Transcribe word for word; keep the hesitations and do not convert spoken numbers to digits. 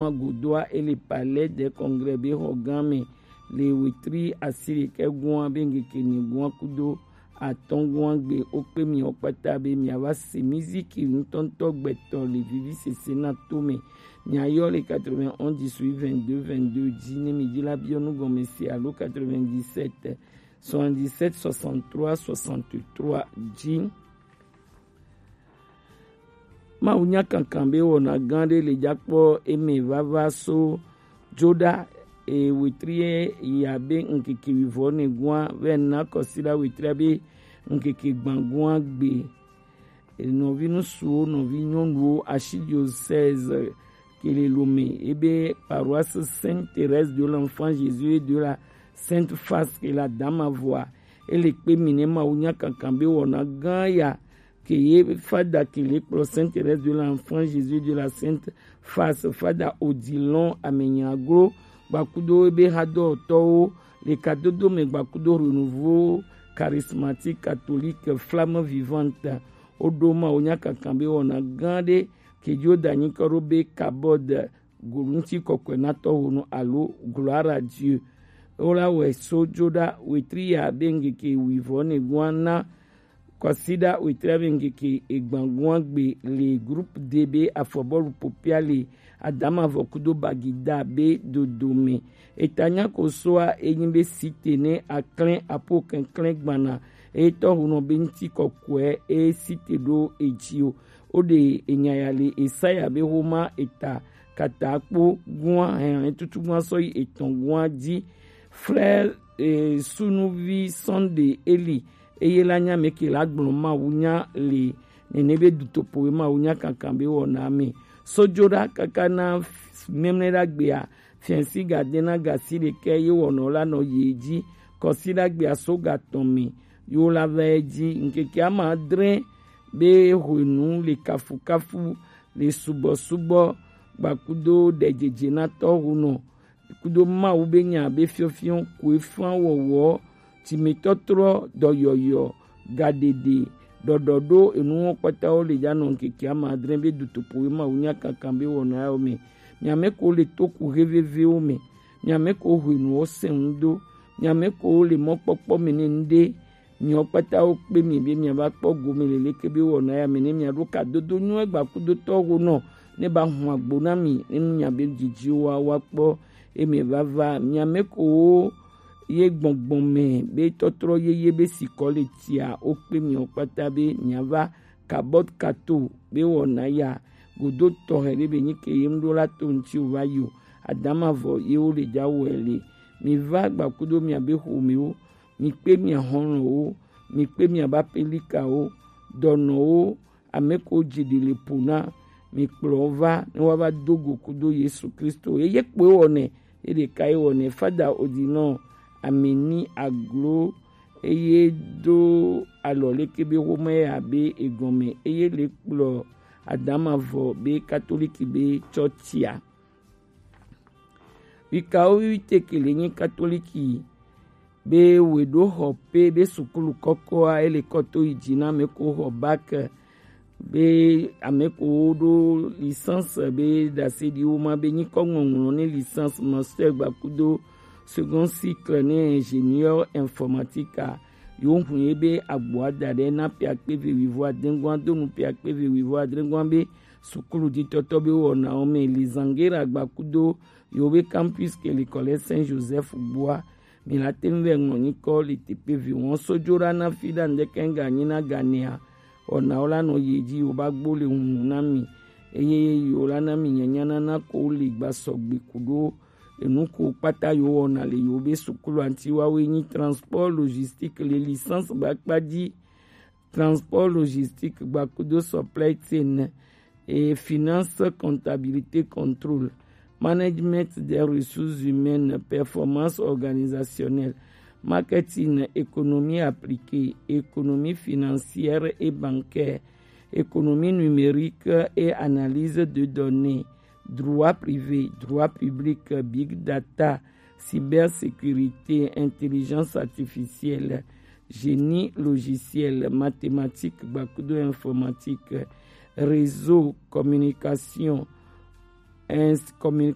godoa e le Palais des Congrès be xɔ gã mɛ le wetri asiɖekɛgoa be ŋkeke enyigɔa kudo atɔgoa gbe. Wo kpe miawo kpata be miava se miziki ŋutɔŋutɔ gbɛtɔ le vivisese na to mɛ. Miayɔ le quatre-vingt-onze dix-huit vingt-deux vingt-deux dzi ne mi dzi la biɔ nu gɔme se alo quatre-vingt-dix-sept soixante-dix-sept soixante-trois soixante-trois dzi. Mawu nya kankan be wɔna gã ɖe le dza kpɔ eme vava so dzoɖa e wetri ya be ŋkeke wivɔ ne gua vɛ na kɔsiɖa wetri be ŋkeke gbãgua gbe. Nɔvi ŋutsuwo, nɔvi nyɔnuwo, Archidiocèse ke le Lomé, ebe paroisse Sainte Thérèse de l'Enfant Jésus et de la Sainte Face ke le Adamavoa, ele kpe mi ne Mawu nya kankan be wɔna gã ya ke ye fada ke le kplɔ Sainte Thérèse de l'Enfant Jésus de la Sainte Face, fada Odilon Amenyaglo, gbakudo ebe hadɔtɔwo le kadodo me gbakudo Renouveau Charismatique Catholique Flamme Vivante. Woɖo Mawu nya kankan be wɔna gã ɖe ke dzo da nyikɔ ɖo be kabɔd go ŋuti kɔkɔe na tɔwonu alo gloire à Dieu. Wola wɛ so dzoɖa wetri ya be ŋkeke wivɔ ne gua na kɔsiɖa wetri ya be ŋkeke egbãgua gbe le groupe D be afɔbɔlu popia le Adamavɔ kudo Bagida be dodome. Eta nya ko soa enyi be site ne aklɛn apo kɛnklɛn gbana etɔ hunɔ be ŋuti kɔkɔe e site ɖo edzi o. Woɖe enya ya le Esaya be homa eta katakpo gua hɛn tutu gua sɔyi etɔn gua dzi. Frère eh, sunuvi Sunday Eli eye la nya me ke la gblɔ Mawu nya le nene be dutopo be Mawu nya kankan be wɔna me. Sojoɖa kaka na memle ɖa gbea fiɛnsi ga de na gasi ɖekɛ ye wɔnɔ la nɔ ye dzi kɔsi ɖa gbea so ga tɔn me yo la va ye dzi ŋkeke ama adre be hwenu le kafukafu le subɔsubɔ gbakudo ɖejeje na tɔhunɔ kudo Mawu be nya be fiɔfiɔ koe fã wɔwɔ timetɔtrɔ dɔyɔyɔ gaɖeɖe ɖɔɖɔ ɖo enuwo kpatawo le dza nɔ ŋkeke ama adre be dutopo be Mawu nya kankan be wɔna yawo me. Miame ko le toku hevevewo me, miame ko hwenuwo sɛn ŋdo, miame ko le mɔkpɔkpɔ me ne ŋɖe Miwo kpata wo kpe mi be miava kpɔ gome le leke be wɔna ya me ne miaɖo kadodo nyuie gbakudotɔ ho nɔ ne ba hun agbo na mi ne nu miabe didi wa wa kpɔ eme vava miame ko wo ye gbɔngbɔn me be tɔtrɔ yeye be sikɔ le tia wo kpe miwo kpata be miava kabɔt kato be wɔna ya godo tɔxɛ ɖe be nyi ke ye ŋɖo la to ŋtsi o va yi o. Adama vɔ ye wo le dza wɔe le. Mi va gbakudo miabe xomewo, mi kpe mia xɔlɔ̃wo, mi kpe miabe apelikawo, dɔnɔwo, ame ko dzi ɖi le ƒo na, mi kplɔ wo va ne woava do go kudo Yesu Kristo. Eye kpoe wɔnɛ, ye ɖeka ye wɔnɛ. Fada Odilon Ameni Aglo eye do alɔ leke be xomɛ ya be egɔme eye le kplɔ Adama vɔ be katoliki be tsɔtsia. Wikawo wi te ke le nyi katoliki be we ɖo xɔ pe be sukulu kɔkɔa ele kɔ to yi dzi na me ko xɔ bac be ame ko wo ɖo licence be ɖase ɖi wo ma be nyikɔ ŋɔŋlɔ ne licence master gbakudo second cycle ne ingénieur informatique a yo hun ye be agboa da ɖe na piakpe ve wivo adengua do nu piakpe ve wivo adengua be sukulu ditɔtɔ be wɔnawo me lizangera gbakudo yo be campus ke le kɔle Saint Joseph gbua. Mi la te ŋu vɛ ŋlɔ nyikɔ le teƒe vi wɔn sojo ɖa na fi ɖa ŋdeke ŋga nyi na ganea. Wɔnawo la nɔ yi dzi yo ba gbo le hunu na mi eye yo la na mi nyanya nana ko le gba sɔgbe ku ɖo enu ko kpata yo wɔna le yo be sukulu anti wawoe nyi transport logistique le licence ba kpa dzi. Transport logistique gbakudo supply chain et finance, comptabilité, contrôle, management des ressources humaines, performance organisationnelle, marketing, économie appliquée, économie financière et bancaire, économie numérique et analyse de données, droit privé, droit public, big data, cybersécurité, intelligence artificielle, génie logiciel, mathématiques, gbakudo informatique, réseau, communication, Ernst Communication.